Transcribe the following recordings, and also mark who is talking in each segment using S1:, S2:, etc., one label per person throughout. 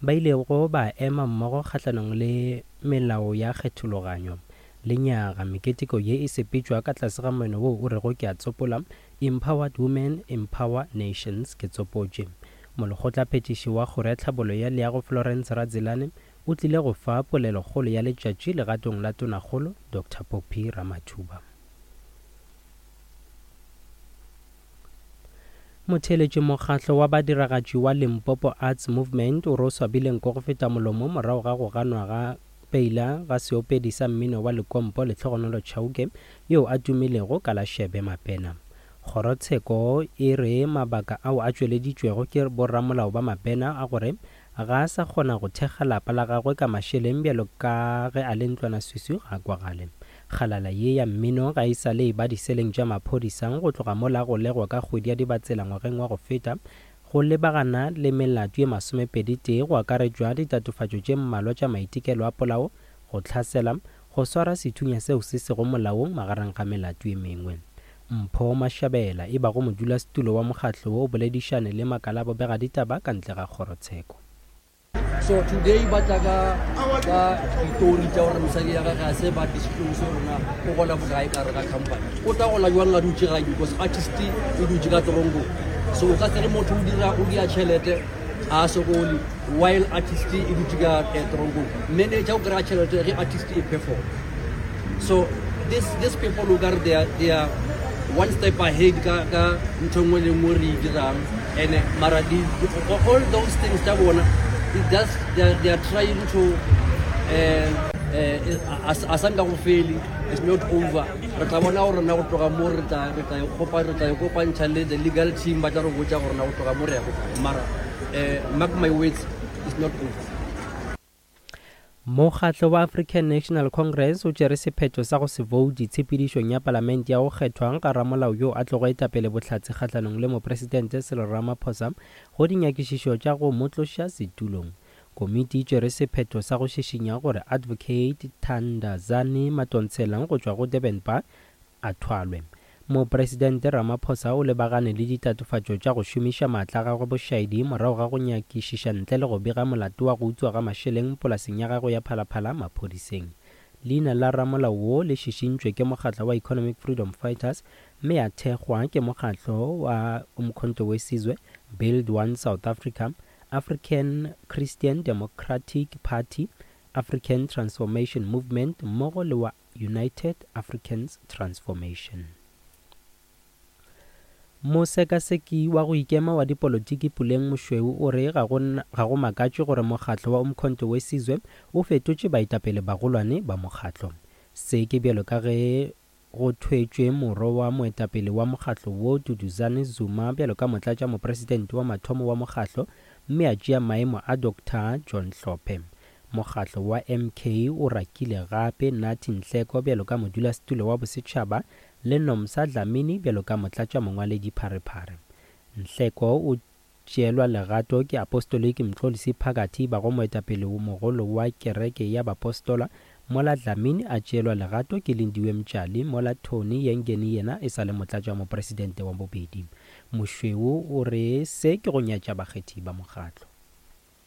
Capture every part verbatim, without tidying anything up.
S1: ba ilego ba ema mmogo kgahlanong le melao ya kgethologanyo. Lenyaga meketeko ye e sepetšwa ka tlase ga moeno wo o rego ke a tsopola Empowered Women Empower Nations ke tsopotše. Molekgotlaphethiši wa Kgoro ya Tlhabollo ya Leago Florence Radzilane o tlile go fa polelokgolo ya letšatši legatong la Tonakgolo Doctor Phophi Ramathuba. Motheeletši mokgatlo wa badiragatši wa Limpopo Arts Movement o re o swabile nko go feta molomo morago ga go ganwa ga peila ga seopedi sa mmino wa Lekompo Lehlogonolo Chauke yo a tumilego ka la Shebe Mapena. Kgorotsheko e re mabaka ao a tšweleditšwego ke boramolao ba Mapena a gore ga a sa kgona go thekga lapa la gagwe ka mašeleng bjalo ka ge a le ntlwanaswiswi ga a kwagale. Kgalala ye ya mmino ga e sa le e ba diseleng tša maphodisa go tloga mola go legwa ka kgwedi ya Dibatsela ngwageng wa go feta go lebagana le melato ye masomepedi tee go akaretšwa ditatofatšo tše mmalwa tša maitekelo a polao, go hlasela, go swara sethunya seo se sego molaong magareng ga melato ye mengwe. Mpho Mashabela e bago modulasetulo wa mokgatlo wo o boledišane le makala a bobegaditaba ka ntle ga kgorotsheko.
S2: So today ba tla ka ka ditori tša gore mosadi ya gage ga se ba disclose gore na o gola bokae ka gare ga company. O tla gola jwang a dutše gae because artist e dutše ka toronkong. So o ka se re motho o dira o dia tšhelete a sokole while artist e dutše ka eh, toronkong. Manager o kry-a tšhelete ge artist e perform. So this this people o kare they are, they are one step ahead ka ka ntho nngwe le nngwe re e dirang and mara di, all those things tša bona it just they are, they are trying to uh, uh, a sa nka go fele, it's not over. Re tla bona gore na go tloga mo re tla re tla ikgopa re tla ikopantšha le the legal team ba tla re botša gore na go tloga mo re ya go mara uh, mark my words, it's not over.
S1: Mokgatlo wa African National Congress o tšere sephetho sa go se voute tshepedišong ya palamente ya go kgethwa ga ramolao yo a tlogo etapele bohlatse kgahlanong le mopresidente Cyril Ramaphosa go dinyakišišo tša go mo tloša setulong. Komiti e tšere sephetho sa go šišinya gore Advocate Thandazani Madonsela go tšwa go Durban Bar a thwalwe. Mopresidente Ramaphosa o lebagane le ditatofatšo tša go šomiša maatla a gagwe bošaedi morago ga go nyakišiša ntle le go bega molato wa go utswa ga mašeleng polaseng ya gagwe ya Phalaphala maphodiseng. Leina la ramolao wo le šišintšwe ke mokgatlo wa Economic Freedom Fighters mme a thekgwa ke mokgatlo wa Umkhonto we Sizwe, Build One South Africa, African Christian Democratic Party, African Transformation Movement mmogo le wa United Africans Transformation. Mosekaseki wa go ikema wa dipolotiki Puleng Mošweu o re ga go, ga go makatše gore mokgatlo wa Umkhonto we Sizwe o fetotše baetapele bagolwane ba mokgatlo. Se ke bjalo ka ge go thwetšwe moro wa moetapele wa mokgatlo wo Duduzane Zuma bjalo ka motlatša mopresidente wa mathomo wa mokgatlo mme a tšea maemo a Doctor John Hlophe. Mokgatlo wa M K o rakile gape Nathi Nhleko bjalo ka modulasetulo wa bosetšhaba le Nomsa Dlamini bjalo ka motlatša mongwaledi pharephare. Nhleko o tšeelwa legato ke Apostolic Mxolisi Phakathi bago moetapele mogolo wa kereke ya Bapostola, mola Dlamini a tšeelwa legato ke Lindiwe Mtshali, mola Tony Yengeni yena e sa le motlatša mopresidente wa bobedi. Mošweu o re se ke go nyatša bakgethi ba mokgatlo.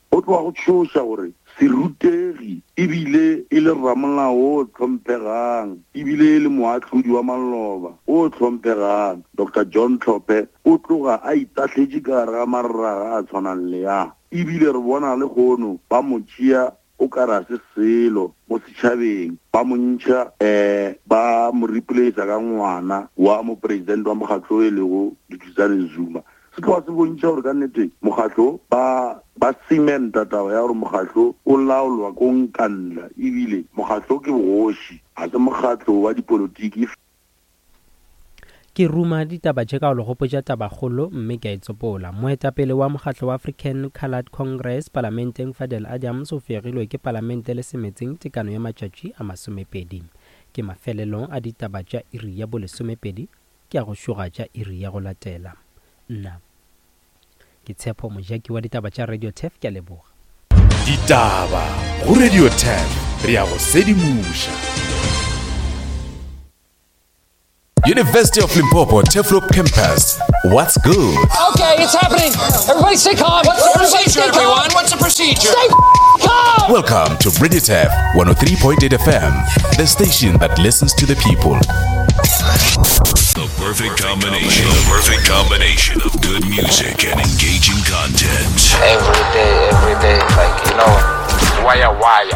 S3: Go tloga go tšhoša gore serutegi ebile e le ramolao o hlomphegang ebile e le moahlodi wa maloba o hlomphegang Doctor John Hlophe o tloga a itahletše ka gare ga marraga a tshwanang le a ebile re bona le kgono ba mo tšea o ka ra se selo mo setšhabeng ba mo ntšha um ba mo replace ka ngwana wa mopresidente wa mokgatlo e lego Duduzane Zuma. Se tloga se bontšha gore ka nnete mokgatlo ba ba cementa taba ya gore mokgatlo o laolwa ko Nkandla ebile mokgatlo ke bogoši ga se mokgatlo wa dipolotiki.
S1: Ke ruma ditaba tše ka go le gopotša tabakgolo mme ke a e tsopola. Moetapele wa mokgatlo wa African Coloured Congress palamenteng Fadel Adams o fegilwe ke palamente le semetseng tekano ya matšatši a masomepedi. Ke mafelelo a ditaba tša iri ya bolesomepedi ke a go šoga tša iri ya go latela. Nna ke Tshepo Mojaki wa ditaba tša Radio Turf, ke a leboga.
S4: Ditaba go Radio Turf, re ya go sedimoša. University of Limpopo Turfloop Campus. What's good?
S5: Okay, it's happening. Everybody stay calm.
S6: What's the
S5: Everybody
S6: procedure,
S5: stay calm.
S6: everyone? What's the procedure?
S5: Stay calm.
S4: Welcome to Radio Turf one oh three point eight F M, the station that listens to the people.
S7: The perfect combination. The perfect combination of good music and engaging content.
S8: Every day, every day, like, you know, wire, wire.